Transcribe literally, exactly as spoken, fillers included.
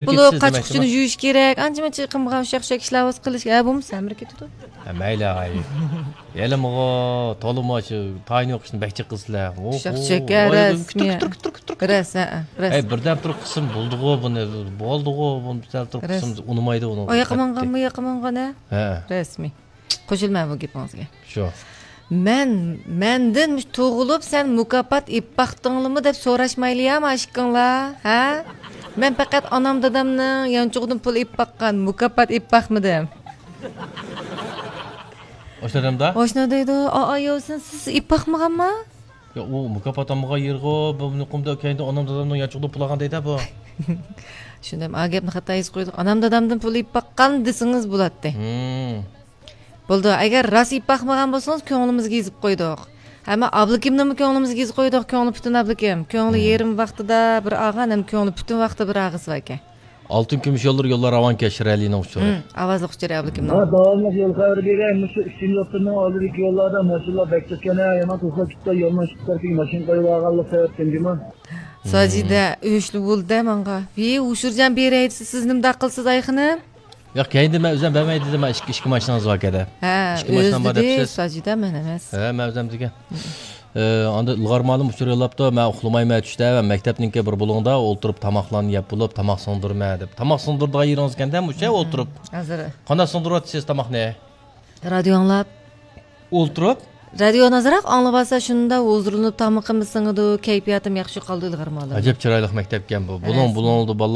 بۇلۇق، قاچا-قۇچىنى يۇيۇش كېرەك. ئانچە-مۇنچە قىلمىغان ئۇششاق-چۈششەك ئىشلار بولسا قىلىش. ھە، بولمىسا ھەممىرى كېتىدۇ. ھە، مەيلى، ئاي. ھېلىمۇغۇ تولىمۇ شۇ تايىنى يوق ئىشنى بەك جىق قىلىسىلەر. ئۇششاق-چۈششەك، ھە، رەسمىي. كۈتتۈر، كۈتتۈر، كۈتتۈر، كۈتتۈر. رەس، ھە، ھە، رەس. ھەي، بىردەم تۇرۇپ قىلسىمۇ بولىدىغۇ بۇنى، بولدىغۇ بۇنى، بىردەم تۇرۇپ قىلسىمۇ ئۇنىمايدۇ ئۇنىڭ. ئاياققا ماڭغانمۇ، ياققا ماڭغان، ھە؟ ھە. رەسمىي. قوشۇلىمەن بۇ گېپىڭىزگە. شۇ. مەن، مەندىن مۇشۇ تۇغۇلۇپ سەن مۇكاپات ئېلىپ باقتىڭلىمۇ دەپ سوراشمايلىيا ما ئىككىڭلار، ھە؟ مەن پەقەت ئانام دادامنىڭ يانچۇقىدىن پۇل ئېلىپ باققان، مۇكاپات ئېلىپ باقمىدىم. ئاشۇنداق دەمدا؟ ئاشۇنداق دەيدۇ. ئا، ئا، يوسۇن، سىز ئېلىپ باقمىغانما؟ يا، ئۇ مۇكاپات ئالمىغان يېرىغۇ، بۇ نۇقۇمدا كەينىدە ئانام دادامنىڭ يانچۇقىدا پۇل ئالغان دەيدۇ بۇ. شۇنداق، ئا گەپنى خاتا يېزىپ قويدۇق. ئانام دادامدىن پۇل ئېلىپ باققان دېسىڭىز بولاتتى. ھىم. بولدى، ئەگەر راست ئېلىپ باقمىغان بولسىڭىز، كۆڭلىمىزگە يېزىپ قويدۇق. ھەممە ئابلىكىمنىمۇ كۆڭلىمىزگە يېزىپ قويدۇق، كۆڭلى پۈتۈن ئابلىكىم. كۆڭلى يېرىم ۋاقتىدا بىر ئالغان، ھەم كۆڭلى پۈتۈن ۋاقتىدا بىر ئالغۇسى باركەن. ئالتۇن كۈمۈش يوللىرى يوللار راۋانكەن، شىرئەلىنىڭ ئۇچۇرى. ھىم، ئاۋازلىق ئۇچۇرى ئابلىكىمنىڭ. ھە، داۋاملىق يول خەۋىرى بېرەي. مۇشۇ ئۈچىنچى ئوتتۇرىنىڭ ئالدىدىكى يوللاردا ماشىنىلار بەك كۆپ ئىكەن، ھە، يامان قىلسا كېتىپ يولنىڭ ئىككى تەرىپىگە ماشىنا قويۇۋالغانلىق سەۋەبتىن جۇمۇ. ساجىدە ئۆچلۈك بولدى ماڭا. ۋى، ئۇشۇرجان بېرەي دېسە، سىز نېمىنداق قىلسىز ئاي خېنىم؟ ياق، كەينىدە مەن ئۆزۈم بەرمەي دېدىم، مەن ئىككى، ئىككى ماشىنىڭىز بار كەدە. ھە، ئىككى ماشىنام بار دەپسىز. ساجىدە، مەن ئەمەس. ھە، مەن ئۆزۈم دېگەن. ئە، ئاندا ئىلغار مالىم ئۇچۇر يوللاپتۇ، مەن ئۇخلىمايمەن چۈشتە، مەن مەكتەپنىڭكى بىر بۇلۇڭدا ئولتۇرۇپ تاماقلارنى يەپ بولۇپ، تاماق سىڭدۈرىمەن دەپ. تاماق سىڭدۈرىدىغان يېرىڭىز ئىكەندە، مۇشۇ يەر ئولتۇرۇپ. ھازىر. قانداق سىڭدۈرۈۋاتىسىز تاماقنى؟ رادىيو ئاڭلاپ. ئولتۇرۇپ؟ رادىيونى ئازراق ئاڭلىۋالسا، شۇنداق ھۇزۇرلىنىپ تامىقىمۇ سىڭىدۇ، كەيپىياتىم ياخشى قالىدۇ، ئىلغار مالىم. ئەجەب چىرايلىق مەكتەپكەن بۇ. بۇلۇڭ، بۇلۇڭدا بالىلار